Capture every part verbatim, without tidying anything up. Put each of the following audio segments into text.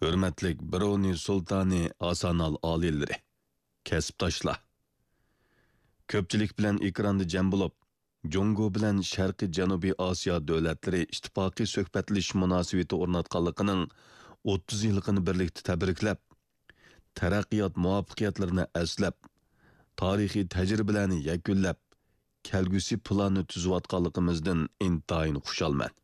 ھۆرمەتلىك برۇنېي سۇلتانى، ھاسانال ئالىيلىرى، كەسىپداشلار! كۆپچىلىك بىلەن ئېكراندا جەم بولۇپ، جۇڭگو بىلەن شەرقىي جەنۇبىي ئاسىيا دۆلەتلىرى ئىتتىپاقى سۆھبەتلىشىش مۇناسىۋىتى ئورناتقانلىقىنىڭ ئوتتۇز يىللىقىنى بىرلىكتە تەبرىكلەپ، تەرەققىيات مۇۋەپپەقىيەتلىرىنى ئەسلەپ، تارىخىي تەجرىبىلەرنى يەكۈنلەپ، كەلگۈسى پىلاننى تۈزۈۋاتقانلىقىمىزدىن ئىنتايىن خۇشالمەن.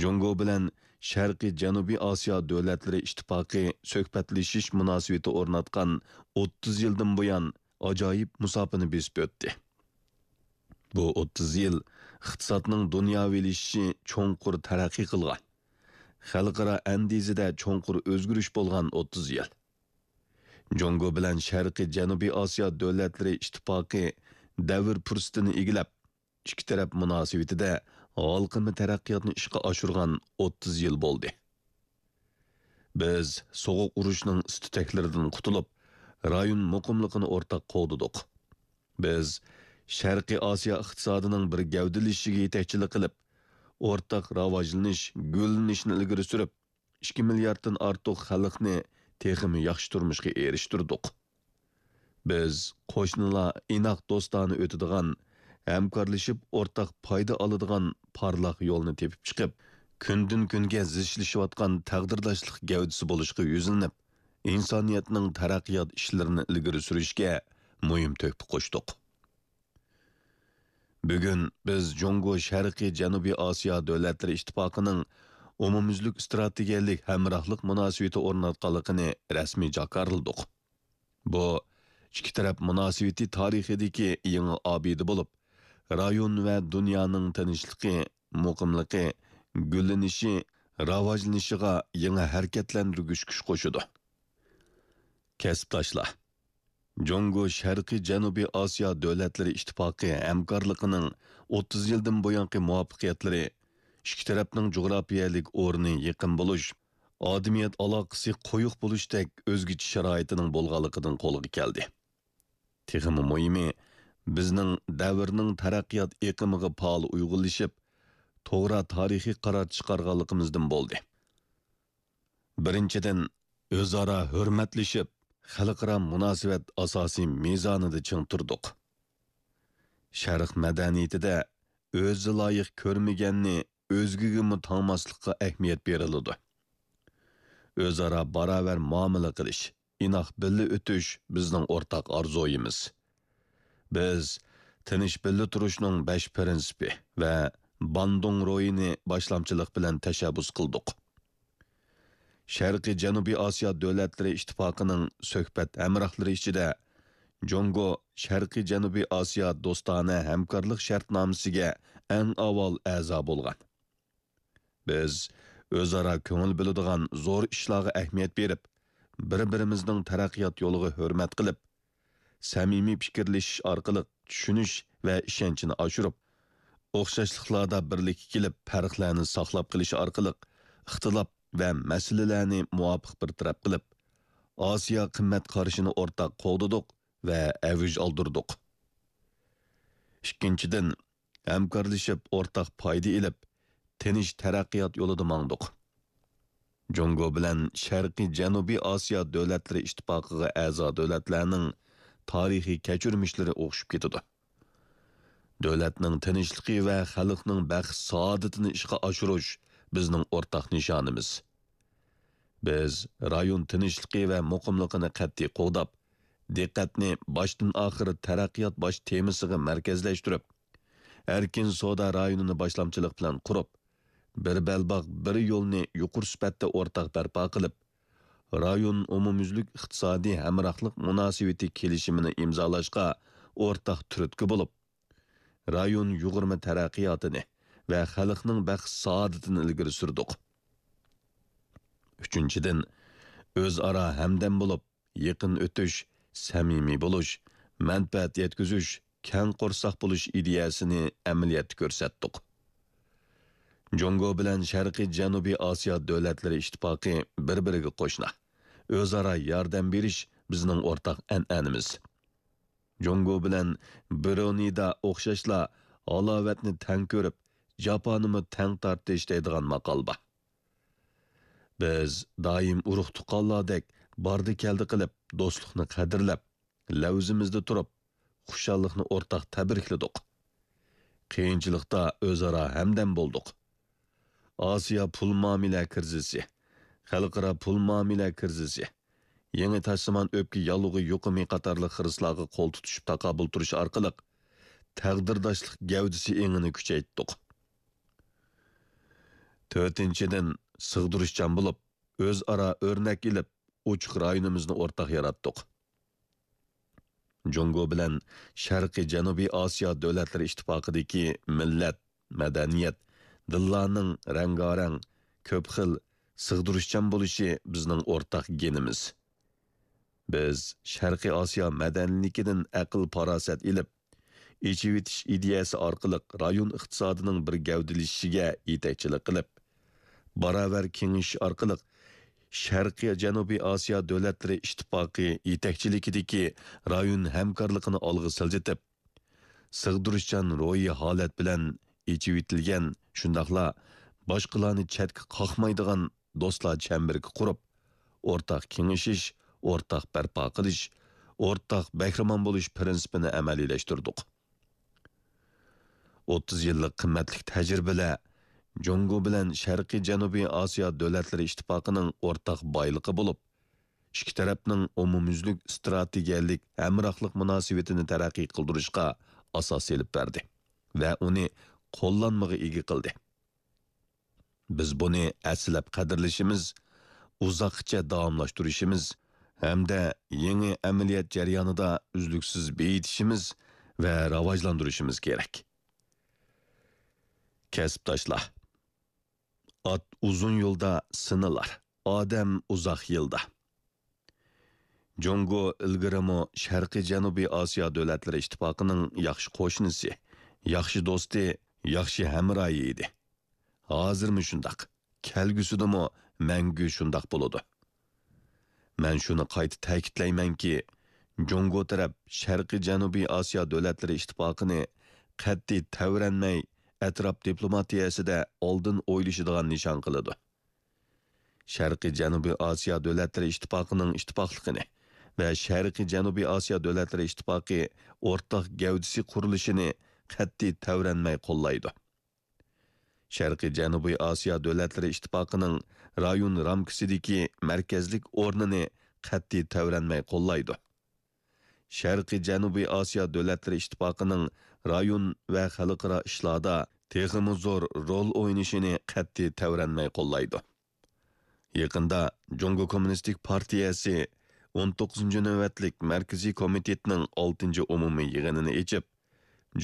جۇڭگو بىلەن شەرقىي جەنۇبىي ئاسىيا دۆلەتلىرى ئىتتىپاقى سۆھبەتلىشىش مۇناسىۋىتى ئورناتقان ئوتتۇز يىلدىن بۇيان ئاجايىپ مۇساپىنى بېسىپ ئۆتتى. بۇ ئوتتۇز يىل ئىقتىسادنىڭ دۇنياۋىلىشىشى چوڭقۇر تەرەققىي قىلغان، خەلقئارا ئەندىزىدە چوڭقۇر ئۆزگىرىش بولغان ئوتتۇز يىل. جۇڭگو بىلەن شەرقىي جەنۇبىي ئاسىيا دۆلەتلىرى ئىتتىپاقى دەۋر پۇرسىتىنى ئىگىلەپ، ئىككى تەرەپ مۇناسىۋىتىدە ھالقىما تەرەققىياتنى ئىشقا ئاشۇرغان ئوتتۇز يىل بولدى. بىز سوغۇق ئۇرۇشنىڭ ئىس-تۈتەكلىرىدىن قۇتۇلۇپ، رايون مۇقىملىقىنى ئورتاق قوغدىدۇق. بىز شەرقىي ئاسىيا ئىقتىسادىنىڭ بىر گەۋدىلىشىشىگە يېتەكچىلىك قىلىپ، ئورتاق راۋاجلىنىش، گۈللىنىشنى ئىلگىرى سۈرۈپ، ئىككى مىلياردتىن ئارتۇق خەلقنى تېخىمۇ ياخشى تۇرمۇشقا ئېرىشتۈردۇق. بىز قوشنىلار ئىناق دوستانە ئۆتىدىغان، ھەمكارلىشىپ ئورتاق پايدا ئالىدىغان پارلاق يولنى تېپىپ چىقىپ، كۈندىن-كۈنگە زىچلىشىۋاتقان تەقدىرداشلىق گەۋدىسى بولۇشقا يۈزلىنىپ، ئىنسانىيەتنىڭ تەرەققىيات ئىشلىرىنى ئىلگىرى سۈرۈشكە مۇھىم تۆھپە قوشتۇق. بۈگۈن بىز جۇڭگو شەرقىي جەنۇبىي ئاسىيا دۆلەتلىرى ئىتتىپاقىنىڭ ئومۇميۈزلۈك ئىستراتېگىيەلىك ھەمراھلىق مۇناسىۋىتى ئورناتقانلىقىنى رەسمىي جاكارلىدۇق. بۇ ئىككى تەرەپ مۇناسىۋىتى تارىخىدىكى يېڭى ئابىدە بولۇپ، رايون ۋە دۇنيانىڭ تىنچلىقى، مۇقىملىقى، گۈللىنىشى، راۋاجلىنىشىغا يېڭى ھەرىكەتلەندۈرگۈچ كۈچ قوشىدۇ. كەسىپداشلار! جۇڭگو شەرقىي جەنۇبىي ئاسىيا دۆلەتلىرى ئىتتىپاقى ھەمكارلىقىنىڭ ئوتتۇز يىلدىن بۇيانقى مۇۋەپپەقىيەتلىرى ئىككى تەرەپنىڭ جۇغراپىيەلىك ئورنى يېقىن بولۇش، ئادىمىيەت ئالاقىسى قويۇق بولۇشتەك ئۆزگىچە شارائىتىنىڭ بولغانلىقىدىن قولغا كەلدى. تېخىمۇ مۇھىمى، بىزنىڭ دەۋرنىڭ تەرەققىيات ئېقىمىغا پائال ئۇيغۇنلىشىپ، توغرا تارىخىي قارار چىقارغانلىقىمىزدىن بولدى. بىرىنچىدىن، ئۆزئارا ھۆرمەتلىشىپ، خەلقئارا مۇناسىۋەت ئاساسىي مىزانىدا چىڭ تۇردۇق. شەرق مەدەنىيىتىدە ئۆزى لايىق كۆرمىگەننى ئۆزگىگىمۇ تاڭماسلىققا ئەھمىيەت بېرىلىدۇ. ئۆزئارا باراۋەر مۇئامىلە قىلىش، ئىناق بىللە ئۆتۈش بىزنىڭ ئورتاق ئارزۇيىمىز. بىز تىنچ بىللە تۇرۇشنىڭ بەش پىرىنسىپى ۋە باندۇڭ روھىنى باشلامچىلىق بىلەن تەشەببۇس قىلدۇق. شەرقىي جەنۇبىي ئاسىيا دۆلەتلىرى ئىتتىپاقىنىڭ سۆھبەت ھەمراھلىرى ئىچىدە جۇڭگو شەرقىي جەنۇبىي ئاسىيا دوستانە ھەمكارلىق شەرتنامىسىگە ئەڭ ئاۋۋال ئەزا بولغان. بىز ئۆزئارا كۆڭۈل بۆلىدىغان زور ئىشلارغا ئەھمىيەت بېرىپ، بىر-بىرىمىزنىڭ تەرەققىيات يولىغا ھۆرمەت قىلىپ، سەمىمىي پىكىرلىشىش ئارقىلىق چۈشىنىش ۋە ئىشەنچنى ئاشۇرۇپ، ئوخشاشلىقلاردا بىرلىككە كېلىپ، پەرقلەرنى ساقلاپ قېلىش ئارقىلىق ئىختىلاپ ۋە مەسىلىلەرنى مۇۋاپىق بىر تەرەپ قىلىپ، ئاسىيا قىممەت قارىشىنى ئورتاق قوغدىدۇق ۋە ئەۋج ئالدۇردۇق. ئىككىنچىدىن، ھەمكارلىشىپ ئورتاق پايدا ئېلىپ، تىنچ تەرەققىيات يولىدا ماڭدۇق. جۇڭگو بىلەن شەرقىي جەنۇبىي ئاسىيا دۆلەتلىرى ئىتتىپاقىغا ئەزا دۆلەتلەرنىڭ تارىخىي كەچۈرمىشلىرى ئوخشىشىپ كېتىدۇ. دۆلەتنىڭ تىنچلىقى ۋە خەلقنىڭ بەخت-سائادىتىنى ئىشقا ئاشۇرۇش بىزنىڭ ئورتاق نىشانىمىز. بىز رايون تىنچلىقى ۋە مۇقىملىقىنى قەتئىي قوغداپ، دىققەتنى باشتىن-ئاخىر تەرەققىيات باش تېمىسىغا مەركەزلەشتۈرۈپ، ئەركىن سودا رايونىنى باشلامچىلىق بىلەن قۇرۇپ، بىر بەلباغ، بىر يولنى يۇقىرى سۈپەتتە ئورتاق بەرپا قىلىپ، رايون ئومۇميۈزلۈك ئىقتىسادىي ھەمراھلىق مۇناسىۋىتى كېلىشىمىنى ئىمزالاشقا ئورتاق تۈرتكە بولۇپ، رايون يۇغۇرما تەرەققىياتىنى ۋە خەلقنىڭ بەخت-سائادىتىنى ئىلگىرى سۈردۇق. ئۈچىنچىدىن، ئۆزئارا ھەمدەم بولۇپ، يېقىن ئۆتۈش، سەمىمىي بولۇش، مەنپەئەت يەتكۈزۈش، كەڭ قورساق بولۇش ئىدىيەسىنى ئەمەلىيەتتە كۆرسەتتۇق. جۇڭگو بىلەن شەرقىي جەنۇبىي ئاسىيا دۆلەتلىرى ئىتتىپاقى بىر-بىرىگە قوشنا، ئۆزئارا ياردەم بېرىش بىزنىڭ ئورتاق ئەنئەنىمىز. جۇڭگو بىلەن برۇنېيدا ئوخشاشلا ھالاۋەتنى تەڭ كۆرۈپ، جاپانىمۇ تەڭ تارتىش دەيدىغان ماقال بار. بىز دائىم ئۇرۇق-تۇغقانلاردەك باردى-كەلدى قىلىپ، دوستلۇقنى قەدىرلەپ، لەۋزىمىزدە تۇرۇپ، خۇشاللىقنى ئورتاق تەبرىكلىدۇق. قىيىنچىلىقتا ئۆزئارا ھەمدەم بولدۇق. ئاسىيا پۇل مۇئامىلە كىرىزىسى، خەلقئارا پۇل مۇئامىلە كىرىزىسى، يېڭى تاشلىمان ئۆپكە ياللۇغى يۇقۇمى قاتارلىق خىرىسلارغا قول تۇتۇشۇپ تاقابىل تۇرۇش ئارقىلىق تەقدىرداشلىق گەۋدىسى ئېڭىنى كۈچەيتتۇق. تۆتىنچىدىن، سىغدۇرۇشچان بولۇپ، ئۆزئارا ئۆرنەك ئېلىپ، ئوچۇق رايونىمىزنى ئورتاق ياراتتۇق. جۇڭگو بىلەن شەرقىي جەنۇبىي ئاسىيا دۆلەتلىرى ئىتتىپاقىدىكى مىللەت، مەدەنىيەت، دىنلارنىڭ رەڭگارەڭ، كۆپ خىل، سىغدۇرۇشچان بولۇشى بىزنىڭ ئورتاق گېنىمىز. بىز شەرقىي ئاسىيا مەدەنىيلىكىدىن ئەقىل-پاراسەت ئېلىپ، ئېچىۋېتىش ئىدىيەسى ئارقىلىق رايون ئىقتىسادىنىڭ بىر گەۋدىلىشىشىگە يېتەكچىلىك قىلىپ، باراۋەر كېڭىشىش ئارقىلىق شەرقىي جەنۇبىي ئاسىيا دۆلەتلىرى ئىتتىپاقى يېتەكچىلىكىدىكى رايون ھەمكارلىقىنى ئالغا سىلجىتىپ، سىغدۇرۇشچان روھىي ھالەت بىلەن ئېچىۋېتىلگەن، شۇنداقلا باشقىلارنى چەتكە قاقمايدىغان دوستلار چەمبىرىكى قۇرۇپ، ئورتاق كېڭىشىش، ئورتاق بەرپا قىلىش، ئورتاق بەھرىمەن بولۇش پىرىنسىپىنى ئەمەلىيلەشتۈردۇق. ئوتتۇز يىللىق قىممەتلىك تەجرىبىلەر جۇڭگو بىلەن شەرقىي جەنۇبىي ئاسىيا دۆلەتلىرى ئىتتىپاقىنىڭ ئورتاق بايلىقى بولۇپ، ئىككى تەرەپنىڭ ئومۇميۈزلۈك ئىستراتېگىيەلىك ھەمراھلىق مۇناسىۋىتىنى تەرەققىي قىلدۇرۇشقا ئاساس ئېلىپ بەردى ۋە ئۇنى قوللانمىغا ئىگە قىلدى. بىز بۇنى ھەسسىلەپ قەدىرلىشىمىز، ئۇزاققىچە داۋاملاشتۇرۇشىمىز ھەمدە يېڭى ئەمەلىيەت جەريانىدا ئۈزلۈكسىز بېيىتىشىمىز ۋە راۋاجلاندۇرۇشىمىز كېرەك. كەسىپداشلار، ئات ئۇزۇن يولدا سىنىلار، ئادەم ئۇزاق يىلدا. جۇڭگو ئىلگىرىمۇ شەرقىي جەنۇبىي ئاسىيا دۆلەتلىرى ئىتتىپاقىنىڭ ياخشى قوشنىسى، ياخشى دوستى، ياخشى ھەمراھى ئىدى. ھازىرمۇ شۇنداق، كەلگۈسىدىمۇ مەڭگۈ شۇنداق بولىدۇ. مەن شۇنى قايتا تەكىتلەيمەنكى، جۇڭگو تەرەپ شەرقىي جەنۇبىي ئاسىيا دۆلەتلىرى ئىتتىپاقىنى قەتئىي تەۋرەنمەي، ئەتراپ دىپلوماتىيەسىدە ئالدىن ئويلىشىدىغان نىشان قىلىدۇ. شەرقىي جەنۇبىي ئاسىيا دۆلەتلىرى ئىتتىپاقىنىڭ ئىتتىپاقلىقىنى ۋە شەرقىي جەنۇبىي ئاسىيا دۆلەتلىرى ئىتتىپاقى ئورتاق گەۋدىسى قۇرۇلۇشىنى قەتئىي تەۋرەنمەي قوللايدۇ. شەرقىي جەنۇبىي ئاسىيا دۆلەتلىرى ئىتتىپاقىنىڭ رايون رامكىسىدىكى مەركەزلىك ئورنىنى قەتئىي تەۋرەنمەي قوللايدۇ. شەرقىي جەنۇبىي ئاسىيا دۆلەتلىرى ئىتتىپاقىنىڭ رايون ۋە خەلقئارا ئىشلاردا تېخىمۇ زور رول ئوينىشىنى قەتئىي تەۋرەنمەي قوللايدۇ. يېقىندا جۇڭگو كوممۇنىستىك پارتىيەسى ئون توققۇزىنچى نۆۋەتلىك مەركىزىي كومىتېتنىڭ ئالتىنچى ئومۇمىي يىغىنىنى ئېچىپ،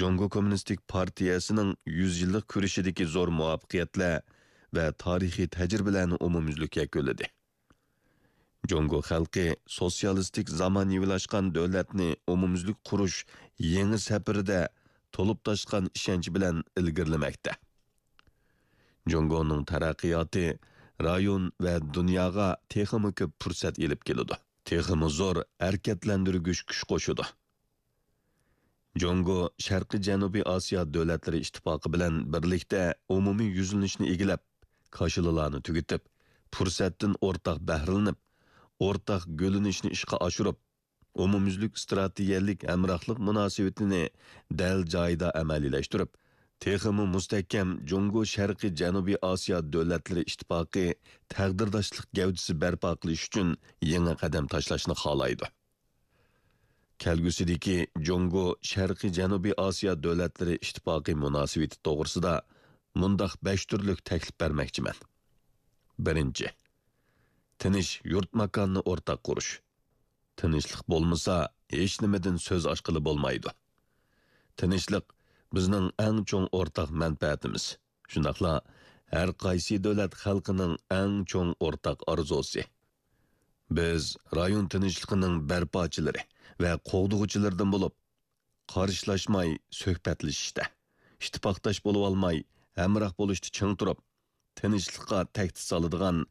جۇڭگو كوممۇنىستىك پارتىيەسىنىڭ يۈز يىللىق كۈرىشىدىكى زور مۇۋەپپەقىيەتلەر ۋە تارىخىي تەجرىبىلەرنى ئومۇميۈزلۈك يەكۈنلىدى. جۇڭگو خەلقى سوتسىيالىستىك زامانىۋىلاشقان دۆلەتنى ئومۇميۈزلۈك قۇرۇش يېڭى سەپىرىدە تولۇپ تاشقان ئىشەنچ بىلەن ئىلگىرىلىمەكتە. جۇڭگونىڭ تەرەققىياتى رايون ۋە دۇنياغا تېخىمۇ كۆپ پۇرسەت ئېلىپ كېلىدۇ. تېخىمۇ زور ھەرىكەتلەندۈرگۈچ كۈچ قوشىدۇ. جۇڭگو شەرقىي جەنۇبىي ئاسىيا دۆلەتلىرى ئىتتىپاقى بىلەن بىرلىكتە ئومۇمىي يۈزلىنىشنى ئىگىلەپ، كاشىلىلارنى تۈگىتىپ، پۇرسەتتىن ئورتاق بەھرىلىنىپ، ئورتاق گۈللىنىشنى ئىشقا ئاشۇرۇپ، ئومۇميۈزلۈك ئىستراتېگىيەلىك ھەمراھلىق مۇناسىۋىتىنى دەل جايىدا ئەمەلىيلەشتۈرۈپ، تېخىمۇ مۇستەھكەم جۇڭگو شەرقىي جەنۇبىي ئاسىيا دۆلەتلىرى ئىتتىپاقى تەقدىرداشلىق گەۋدىسى بەرپا قىلىش ئۈچۈن يېڭى قەدەم تاشلاشنى خالايدۇ. كەلگۈسىدىكى جۇڭگو شەرقىي جەنۇبىي ئاسىيا دۆلەتلىرى ئىتتىپاقى مۇناسىۋىتى توغرىسىدا مۇنداق بەش تۈرلۈك تەكلىپ بەرمەكچىمەن. بىرىنچى، تىنچ يۇرت ماكاننى ئورتاق قۇرۇش. تىنچلىق بولمىسا، ھېچنېمىدىن سۆز ئاچقىلى بولمايدۇ. تىنچلىق بىزنىڭ ئەڭ چوڭ ئورتاق مەنپەئەتىمىز، شۇنداقلا ھەر قايسى دۆلەت خەلقىنىڭ ئەڭ چوڭ ئورتاق ئارزۇسى. بىز رايون تىنچلىقىنىڭ بەرپاچىلىرى ۋە قوغدىغۇچىلىرىدىن بولۇپ، قارشىلاشماي سۆھبەتلىشىشتە، ئىتتىپاقداش بولۇۋالماي ھەمراھ بولۇشتا چىڭ تۇرۇپ، تىنچلىققا تەھدىت سالىدىغان،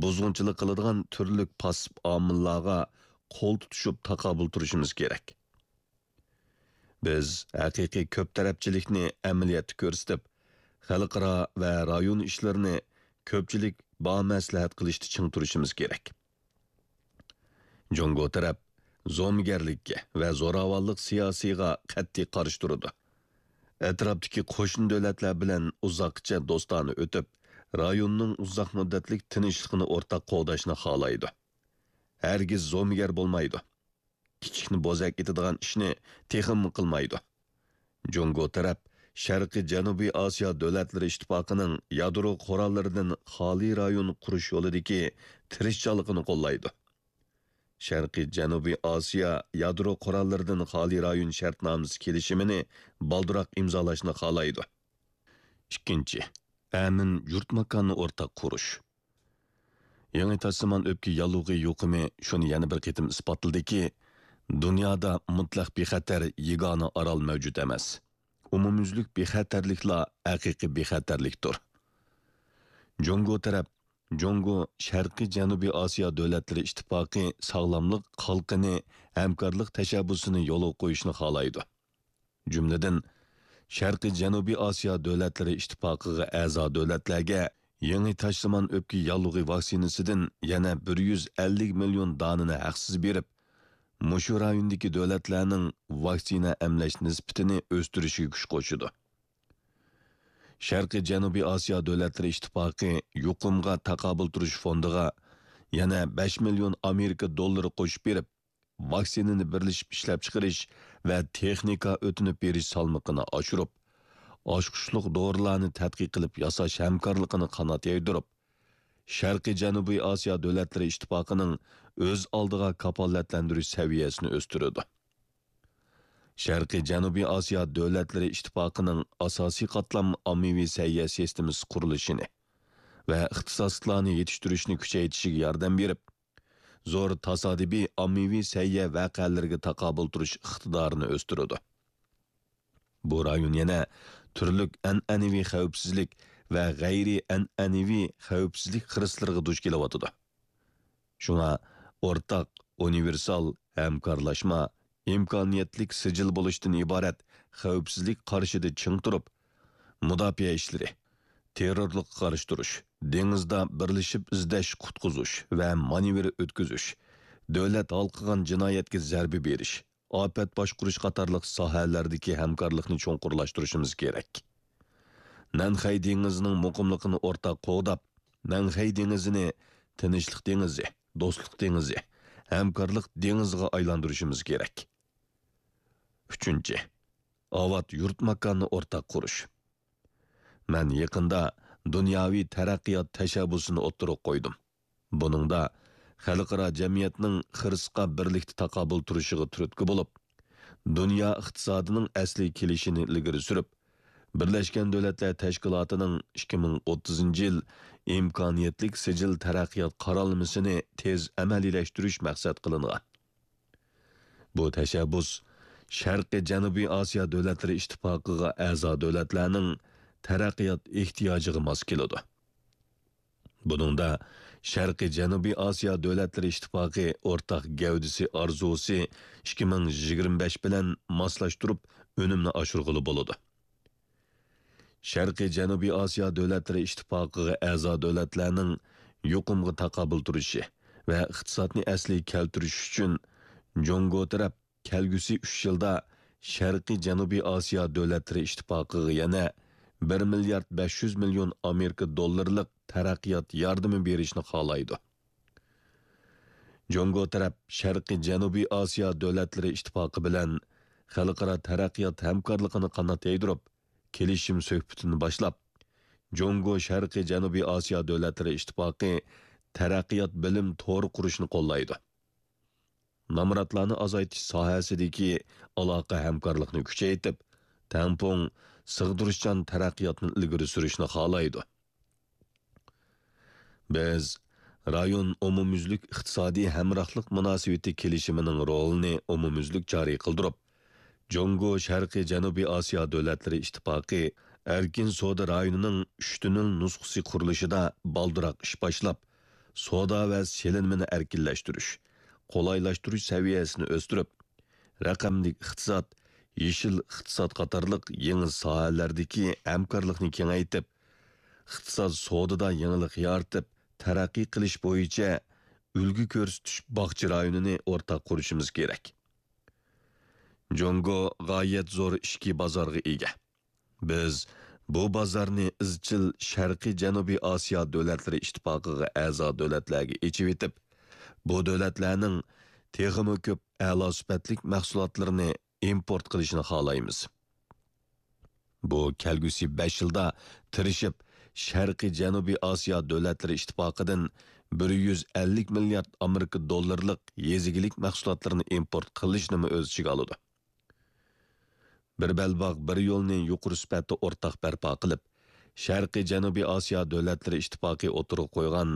بۇزغۇنچىلىق قىلىدىغان تۈرلۈك پاسسىپ ئامىللارغا قول تۇتۇشۇپ تاقابىل تۇرۇشىمىز كېرەك. بىز ھەقىقىي كۆپ تەرەپچىلىكنى ئەمەلىيەتتە كۆرسىتىپ، خەلقئارا ۋە رايون ئىشلىرىنى كۆپچىلىك بامەسلىھەت قىلىشتا چىڭ تۇرۇشىمىز كېرەك. جۇڭگو تەرەپ زومىگەرلىككە ۋە زوراۋانلىق سىياسىيغا قەتئىي قارشى تۇرىدۇ. ئەتراپتىكى قوشنا دۆلەتلەر بىلەن ئۇزاققىچە دوستانە ئۆتۈپ، رايوننىڭ ئۇزاق مۇددەتلىك تىنچلىقىنى ئورتاق قوغداشنى خالايدۇ. ھەرگىز زومىگەر بولمايدۇ. كىچىكنى بوزەك ئېتىدىغان ئىشنى تېخىمۇ قىلمايدۇ. جۇڭگو تەرەپ شەرقىي جەنۇبىي ئاسىيا دۆلەتلىرى ئىتتىپاقىنىڭ يادرو قوراللىرىدىن خالىي رايون قۇرۇش يولىدىكى تىرىشچانلىقىنى قوللايدۇ. شەرقىي جەنۇبىي ئاسىيا يادرو قوراللىرىدىن خالىي رايون شەرتنامىسى كېلىشىمىنى بالدۇرراق ئىمزالاشنى خالايدۇ. ئىككىنچى، ئەمىن يۇرت ماكاننى ئورتاق قۇرۇش. يېڭى تاشسىمان ئۆپكە ياللۇغى يۇقۇمى شۇنى يەنە بىر قېتىم ئىسپاتلىدىكى، دۇنيادا مۇتلەق بىخەتەر يېگانە ئارال مەۋجۇت ئەمەس. ئومۇميۈزلۈك بىخەتەرلىكلا ھەقىقىي بىخەتەرلىكتۇر. جۇڭگو تەرەپ، جۇڭگو شەرقىي جەنۇبىي ئاسىيا دۆلەتلىرى ئىتتىپاقى ساغلاملىق قالقىنى، ھەمكارلىق تەشەببۇسىنى يولغا قويۇشنى خالايدۇ. جۈملىدىن، شەرقىي جەنۇبىي ئاسىيا دۆلەتلىرى ئىتتىپاقىغا ئەزا دۆلەتلەرگە يېڭى تاشسىمان ئۆپكە ياللۇغى ۋاكسىنىسىدىن يەنە بىر يۈز ئەللىك مىليون دانىنى ھەقسىز بېرىپ، مۇشۇ رايوندىكى دۆلەتلەرنىڭ ۋاكسىنا ئەملەش نىسبىتىنى ئۆستۈرۈشىگە كۈچ قوشىدۇ. شەرقىي جەنۇبىي ئاسىيا دۆلەتلىرى ئىتتىپاقى يۇقۇمغا تاقابىل تۇرۇش فوندىغا يەنە بەش مىليون ئامېرىكا دوللىرى قوشۇپ بېرىپ، ۋاكسىنىنى بىرلىشىپ ئىشلەپچىقىرىش ۋە تېخنىكا ئۆتۈنۈپ بېرىش سالمىقىنى ئاشۇرۇپ، ئاچقۇچلۇق دورىلارنى تەتقىق قىلىپ ياساش ھەمكارلىقىنى قانات يايدۇرۇپ، شەرقىي جەنۇبىي ئاسىيا دۆلەتلىرى ئىتتىپاقىنىڭ ئۆز ئالدىغا كاپالەتلەندۈرۈش سەۋىيەسىنى ئۆستۈرىدۇ. شەرقىي جەنۇبىي ئاسىيا دۆلەتلىرى ئىتتىپاقىنىڭ ئاساسىي قاتلام ئاممىۋى سەھىيە سىستېمىسى قۇرۇلۇشىنى ۋە ئىختىساسلىقلارنى يېتىشتۈرۈشنى كۈچەيتىشىگە ياردەم بېرىپ، زور تاسادىپىي ئاممىۋى سەھىيە ۋەقەلىرىگە تاقابىل تۇرۇش ئىقتىدارىنى ئۆستۈرىدۇ. بۇ رايون يەنە تۈرلۈك ئەنئەنىۋى خەۋپسىزلىك ۋە غەيرىي ئەنئەنىۋى خەۋپسىزلىك خىرىسلىرىغا دۇچ كېلىۋاتىدۇ. شۇڭا ئورتاق، ئۇنىۋېرسال، ھەمكارلاشما، ئىمكانىيەتلىك سىجىل بولۇشتىن ئىبارەت خەۋپسىزلىك قارىشىدا چىڭ تۇرۇپ، مۇداپىئە ئىشلىرى، تېررورلۇققا قارشى تۇرۇش، دېڭىزدا بىرلىشىپ ئىزدەش، قۇتقۇزۇش ۋە مانېۋىر ئۆتكۈزۈش، دۆلەت ھالقىغان جىنايەتكە زەربە بېرىش، ئاپەت باشقۇرۇش قاتارلىق ساھەلەردىكى ھەمكارلىقنى چوڭقۇرلاشتۇرۇشىمىز كېرەك. نەنخەي دېڭىزىنىڭ مۇقىملىقىنى ئورتاق قوغداپ، نەنخەي دېڭىزىنى تىنچلىق دېڭىزى، دوستلۇق دېڭىزى، ھەمكارلىق دېڭىزىغا ئايلاندۇرۇشىمىز كېرەك. ئۈچىنچى، ئاۋات يۇرت ماكاننى ئورتاق قۇرۇش. مەن يېقىندا دۇنياۋى تەرەققىيات تەشەببۇسىنى ئوتتۇرىغا قويدۇم. بۇنىڭدا خەلقئارا جەمئىيەتنىڭ خىرىسقا بىرلىكتە تاقابىل تۇرۇشىغا تۈرتكە بولۇپ، دۇنيا ئىقتىسادىنىڭ ئەسلىي كېلىشىنى ئىلگىرى سۈرۈپ، بىرلەشكەن دۆلەتلەر تەشكىلاتىنىڭ ئىككى مىڭ ئوتتۇزىنچى يىل ئىمكانىيەتلىك سىجىل تەرەققىيات قارالمىسىنى تېز ئەمەلىيلەشتۈرۈش مەقسەت قىلىنغان. بۇ تەشەببۇس شەرقىي جەنۇبىي ئاسىيا دۆلەتلىرى ئىتتىپاقىغا ئەزا دۆلەتلەرنىڭ تەرەققىيات ئېھتىياجىغا ماس كېلىدۇ. بۇنىڭدا شەرقىي جەنۇبىي ئاسىيا دۆلەتلىرى ئىتتىپاقى ئورتاق گەۋدىسى ئارزۇسى ئىككى مىڭ يىگىرمە بەش بىلەن ماسلاشتۇرۇپ ئۈنۈمنى ئاشۇرغىلى بولىدۇ. شەرقىي جەنۇبىي ئاسىيا دۆلەتلىرى ئىتتىپاقىغا ئەزا دۆلەتلەرنىڭ يۇقۇمغا تاقابىل تۇرۇشى ۋە ئىقتىسادنى ئەسلىگە كەلتۈرۈش ئۈچۈن جۇڭگو تەرەپ كەلگۈسى ئۈچ يىلدا شەرقىي جەنۇبىي ئاسىيا دۆلەتلىرى ئىتتىپاقىغا يەنە بىر مىليارد بەش يۈز مىليون ئامېرىكا دوللىرىلىق تەرەققىيات ياردىمى بېرىشنى خالايدۇ. جۇڭگو تەرەپ شەرقىي جەنۇبىي ئاسىيا دۆلەتلىرى ئىتتىپاقى بىلەن خەلقئارا تەرەققىيات ھەمكارلىقىنى قانات يايدۇرۇپ، كېلىشىم سۆھبىتىنى باشلاپ، جۇڭگو شەرقىي جەنۇبىي ئاسىيا دۆلەتلىرى ئىتتىپاقى تەرەققىيات بىلىم تورى قۇرۇشنى قوللايدۇ. نامراتلارنى ئازايتىش ساھەسىدىكى ئالاقە ھەمكارلىقنى كۈچەيتىپ، تەڭپۇڭ، سىغدۇرۇشچان تەرەققىياتنى ئىلگىرى سۈرۈشنى خالايدۇ. بىز رايون ئومۇميۈزلۈك ئىقتىسادىي ھەمراھلىق مۇناسىۋىتى كېلىشىمىنىڭ رولىنى ئومۇميۈزلۈك جارى قىلدۇرۇپ، جۇڭگو شەرقىي جەنۇبىي ئاسىيا دۆلەتلىرى ئىتتىپاقى ئەركىن سودا رايونىنىڭ ئۈچ تۈنۈل نۇسخىسى قۇرۇلۇشىدا بالدۇرراق ئىش باشلاپ، سودا ۋە سېلىنمىنى ئەركىنلەشتۈرۈش، قولايلاشتۇرۇش سەۋىيەسىنى ئۆستۈرۈپ، رەقەملىك ئىقتىساد، يېشىل ئىقتىساد قاتارلىق يېڭى ساھەلەردىكى ھەمكارلىقنى كېڭەيتىپ، ئىقتىساد سودىدا يېڭىلىق يارىتىپ، تەرەققىي قىلىش بويىچە ئۈلگە كۆرسىتىش باغچە رايونىنى ئورتاق قۇرۇشىمىز كېرەك. جۇڭگو غايەت زور ئىچكى بازارغا ئىگە. بىز بۇ بازارنى ئىزچىل شەرقىي جەنۇبىي ئاسىيا دۆلەتلىرى ئىتتىپاقىغا ئەزا دۆلەتلەرگە ئېچىۋېتىپ، بۇ دۆلەتلەرنىڭ تېخىمۇ كۆپ ئەلا سۈپەتلىك مەھسۇلاتلىرىنى ئىمپورت قىلىشىنى خالايمىز. بۇ كەلگۈسى بەش يىلدا تىرىشىپ، شەرقىي جەنۇبىي ئاسىيا دۆلەتلىرى ئىتتىپاقىدىن بىر يۈز ئەللىك مىليارد ئامېرىكا دوللىرىلىق يېزا ئىگىلىك مەھسۇلاتلىرىنى ئىمپورت قىلىشنىمۇ ئۆز ئىچىگە ئالىدۇ. بىر بەلباغ، بىر يولنى يۇقىرى سۈپەتتە ئورتاق بەرپا قىلىپ، شەرقىي جەنۇبىي ئاسىيا دۆلەتلىرى ئىتتىپاقى ئوتتۇرىغا قويغان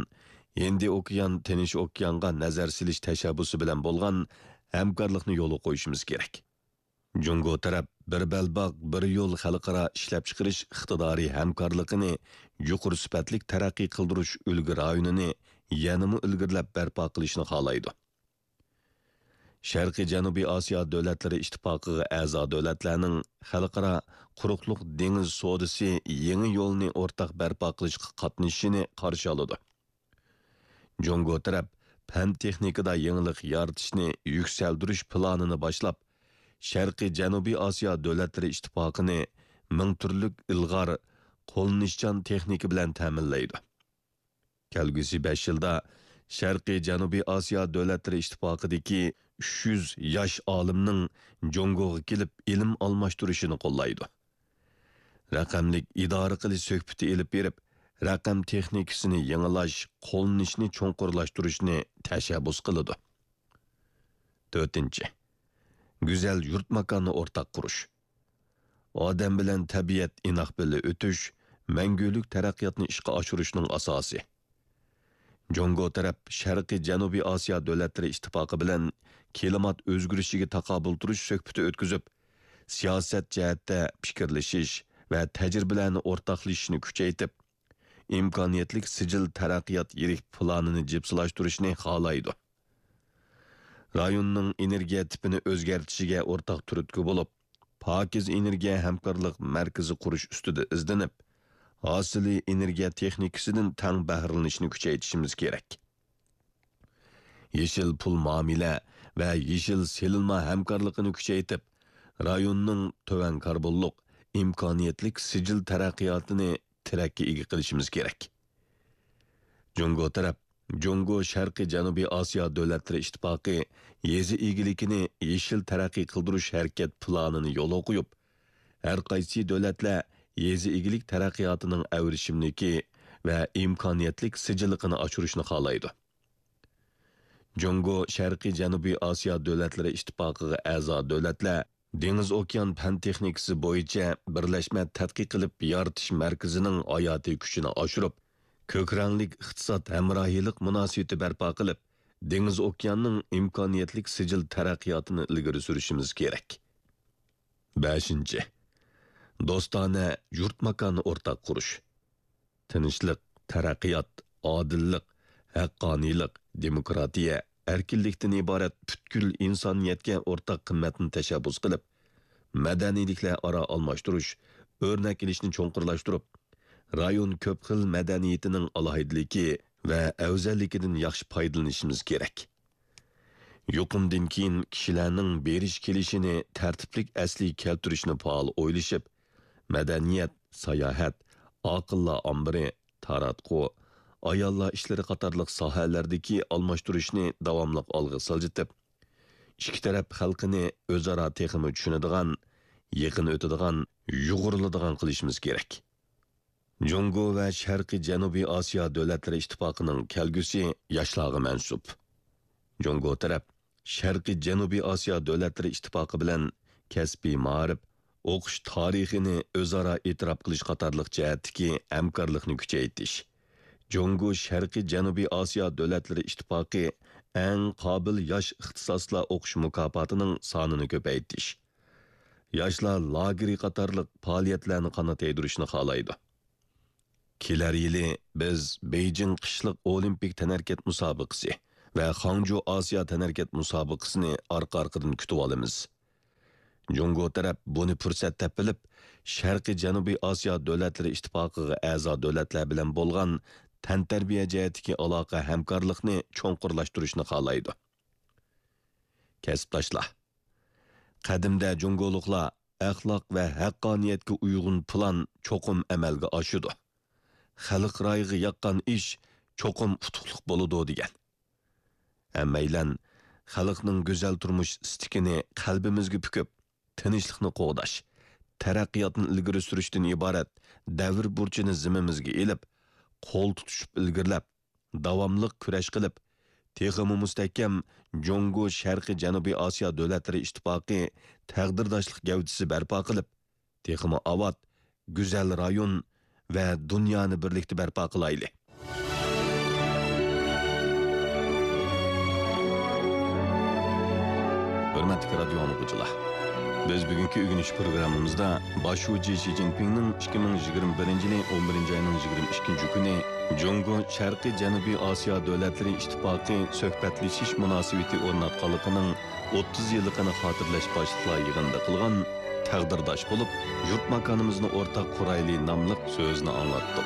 ھىندى ئوكيان، تىنچ ئوكيانغا نەزەر سېلىش تەشەببۇسى بىلەن بولغان ھەمكارلىقنى يولغا قويۇشىمىز كېرەك. جۇڭگو تەرەپ بىر بەلباغ، بىر يول خەلقئارا ئىشلەپچىقىرىش ئىقتىدارى ھەمكارلىقىنى يۇقىرى سۈپەتلىك تەرەققىي قىلدۇرۇش ئۈلگە رايونىنى يەنىمۇ ئىلگىرىلەپ بەرپا قىلىشنى خالايدۇ. شەرقىي جەنۇبىي ئاسىيا دۆلەتلىرى ئىتتىپاقىغا ئەزا دۆلەتلەرنىڭ خەلقئارا قۇرۇقلۇق دېڭىز سودىسى يېڭى يولىنى ئورتاق بەرپا قىلىشقا قاتنىشىشىنى قارشى ئالىدۇ. جۇڭگو تەرەپ پەن تېخنىكىدا يېڭىلىق يارىتىشنى يۈكسەلدۈرۈش پىلانىنى باشلاپ، شەرقىي جەنۇبىي ئاسىيا دۆلەتلىرى ئىتتىپاقىنى مىڭ تۈرلۈك ئىلغار، قوللىنىشچان تېخنىكا بىلەن تەمىنلەيدۇ. كەلگۈسى بەش يىلدا شەرقىي جەنۇبىي ئاسىيا دۆلەتلىرى ئىتتىپاقىدىكى ئۈچ يۈز ياش ئالىمنىڭ جۇڭگوغا كېلىپ ئىلىم ئالماشتۇرۇشىنى قوللايدۇ. رەقەملىك ئىدارە قىلىش سۆھبىتى ئېلىپ بېرىپ، رەقەم تېخنىكىسىنى يېڭىلاش، قوللىنىشنى چوڭقۇرلاشتۇرۇشنى تەشەببۇس قىلىدۇ. تۆتىنچى، گۈزەل يۇرت ماكاننى ئورتاق قۇرۇش. ئادەم بىلەن تەبىئەت ئىناق بىللە ئۆتۈش، مەڭگۈلۈك تەرەققىياتنى ئىشقا ئاشۇرۇشنىڭ ئاساسى. جۇڭگو تەرەپ شەرقىي جەنۇبىي ئاسىيا دۆلەتلىرى ئىتتىپاقى بىلەن كىلىمات ئۆزگىرىشىگە تاقابىل تۇرۇش سۆھبىتى ئۆتكۈزۈپ، سىياسەت جەھەتتە پىكىرلىشىش ۋە تەجرىبىلەرنى ئورتاقلىشىشنى كۈچەيتىپ، ئىمكانىيەتلىك سىجىل تەرەققىيات يىرىك پىلانىنى جىپسىلاشتۇرۇشنى خالايدۇ. رايوننىڭ ئېنېرگىيە تىپىنى ئۆزگەرتىشىگە ئورتاق تۈرتكە بولۇپ، پاكىز ئېنېرگىيە ھەمكارلىق مەركىزى قۇرۇش ئۈستىدە ئىزدىنىپ، ھاسىلى ئېنېرگىيە تېخنىكىسىدىن تەڭ بەھرىلىنىشنى كۈچەيتىشىمىز كېرەك. يېشىل پۇل مۇئامىلە ۋە يېشىل سېلىنما ھەمكارلىقىنى كۈچەيتىپ، رايوننىڭ تۆۋەن كاربونلۇق، ئىمكانىيەتلىك سىجىل تەرەققىياتىنى تىرەككە ئىگە قىلىشىمىز كېرەك. جۇڭگو تەرەپ جۇڭگو شەرقىي جەنۇبىي ئاسىيا دۆلەتلىرى ئىتتىپاقى يېزا ئىگىلىكىنى يېشىل تەرەققىي قىلدۇرۇش ھەرىكەت پىلانىنى يولغا قويۇپ، ھەر قايسى دۆلەتلەر يېزا ئىگىلىك تەرەققىياتىنىڭ ئەۋرىشىملىكى ۋە ئىمكانىيەتلىك سىجىللىقىنى ئاشۇرۇشنى خالايدۇ. جۇڭگو شەرقىي جەنۇبىي ئاسىيا دۆلەتلىرى ئىتتىپاقىغا ئەزا دۆلەتلەر دېڭىز ئوكيان پەن تېخنىكىسى بويىچە بىرلەشمە تەتقىق قىلىپ يارىتىش مەركىزىنىڭ ھاياتىي كۈچىنى ئاشۇرۇپ، كۆك رەڭلىك ئىقتىساد ھەمراھىيلىق مۇناسىۋىتى بەرپا قىلىپ، دېڭىز ئوكياننىڭ ئىمكانىيەتلىك سىجىل تەرەققىياتىنى ئىلگىرى سۈرۈشىمىز كېرەك. بەشىنچى، دوستانە يۇرت ماكاننى ئورتاق قۇرۇش. تىنچلىق، تەرەققىيات، ئادىللىق، ھەققانىيلىق، دېموكراتىيە، ئەركىنلىكتىن ئىبارەت پۈتكۈل ئىنسانىيەتكە ئورتاق قىممەتنى تەشەببۇس قىلىپ، مەدەنىيلىكلەر ئارا ئالماشتۇرۇش، ئۆرنەك ئېلىشنى چوڭقۇرلاشتۇرۇپ، رايون كۆپ خىل مەدەنىيىتىنىڭ ئالاھىدىلىكى ۋە ئەۋزەللىكىدىن ياخشى پايدىلىنىشىمىز كېرەك. يۇقۇمدىن كېيىن كىشىلەرنىڭ بېرىش كېلىشىنى تەرتىپلىك ئەسلىگە كەلتۈرۈشنى پائال ئويلىشىپ، مەدەنىيەت، ساياھەت، ئاقىللار ئامبىرى، تاراتقۇ، ئاياللار ئىشلىرى قاتارلىق ساھەلەردىكى ئالماشتۇرۇشنى داۋاملىق ئالغا سىلجىتىپ، ئىككى تەرەپ خەلقىنى ئۆزئارا تېخىمۇ چۈشىنىدىغان، يېقىن ئۆتىدىغان، يۇغۇرۇلىدىغان قىلىشىمىز كېرەك. جۇڭگو ۋە شەرقىي جەنۇبىي ئاسىيا دۆلەتلىرى ئىتتىپاقىنىڭ كەلگۈسى ياشلارغا مەنسۇپ. جۇڭگو تەرەپ شەرقىي جەنۇبىي ئاسىيا دۆلەتلىرى ئىتتىپاقى بىلەن كەسپىي مائارىپ، ئوقۇش تارىخىنى ئۆزئارا ئېتىراپ قىلىش قاتارلىق جەھەتتىكى ھەمكارلىقنى كۈچەيتىش، جۇڭگو شەرقىي جەنۇبىي ئاسىيا دۆلەتلىرى ئىتتىپاقى ئەڭ قابىل ياش ئىختىساسلار ئوقۇش مۇكاپاتىنىڭ سانىنى كۆپەيتىش، ياشلار لاگېرى قاتارلىق پائالىيەتلەرنى قانات يايدۇرۇشنى خالايدۇ. كېلەر يىلى بىز بېيجىڭ قىشلىق ئولىمپىك تەنھەرىكەت مۇسابىقىسى ۋە خاڭجۇ ئاسىيا تەنھەرىكەت مۇسابىقىسىنى ئارقا-ئارقىدىن كۈتۈۋالىمىز. جۇڭگو تەرەپ بۇنى پۇرسەت دەپ بىلىپ، شەرقىي جەنۇبىي ئاسىيا دۆلەتلىرى ئىتتىپاقىغا ئەزا دۆلەتلەر بىلەن بولغان تەنتەربىيە جەھەتتىكى ئالاقە ھەمكارلىقنى چوڭقۇرلاشتۇرۇشنى خالايدۇ. كەسىپداشلار، قەدىمدە جۇڭگولۇقلار ئەخلاق ۋە ھەققانىيەتكە ئۇيغۇن پىلان چوقۇم ئەمەلگە ئاشىدۇ. خەلق رايىغا ياققان ئىش چوقۇم ئۇتۇقلۇق بولىدۇ دېگەن. ھەممەيلەن خەلقنىڭ گۈزەل تۇرمۇش ئىستىكىنى قەلبىمىزگە پۈكۈپ، تىنچلىقنى قوغداش، تەرەققىياتنى ئىلگىرى سۈرۈشتىن ئىبارەت دەۋر بۇرچىنى زىممىمىزگە ئېلىپ، قول تۇتۇشۇپ ئىلگىرىلەپ، داۋاملىق كۈرەش قىلىپ، تېخىمۇ مۇستەھكەم جۇڭگو شەرقىي جەنۇبىي ئاسىيا دۆلەتلىرى ئىتتىپاقى تەقدىرداشلىق گەۋدىسى بەرپا قىلىپ، تېخىمۇ ئاۋات، گۈزەل رايون ۋە دۇنيانى بىرلىكتە بەرپا قىلايلى. ھۆرمەتلىك رادىيو ئاڭلىغۇچىلار، بىز بۈگۈنكى ئۆگىنىش پروگراممىمىزدا باش شۇجى شى جىنپىڭنىڭ ئىككى مىڭ يىگىرمە بىرىنچى يىلى ئون بىرىنچى ئاينىڭ يىگىرمە ئىككىنچى كۈنى جۇڭگو شەرقىي جەنۇبىي ئاسىيا دۆلەتلىرى ئىتتىپاقى سۆھبەتلىشىش مۇناسىۋىتى ئورناتقانلىقىنىڭ ئوتتۇز يىللىقىنى خاتىرىلەش باشلىقلار يىغىنىدا قىلغان تەقدىرداش بولۇپ، يۇرت ماكانىمىزنى ئورتاق قۇرايلى ناملىق سۆزىنى ئاڭلاتتۇق.